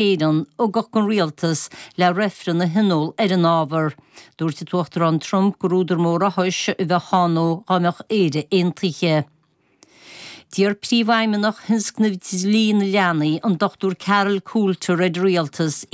hÉireann ugach don rialtas le reifreann a thionól ar an ábhar. Dúirt an tUachtarán Trump gur údar mór áthais a bheadh ann dó dá mbeadh Éire aontaithe. D'iarr Príomhfheidhmeannach Thionscnamh Dlí na Leanaí, an Dr Carol Coulter ar an rialtas.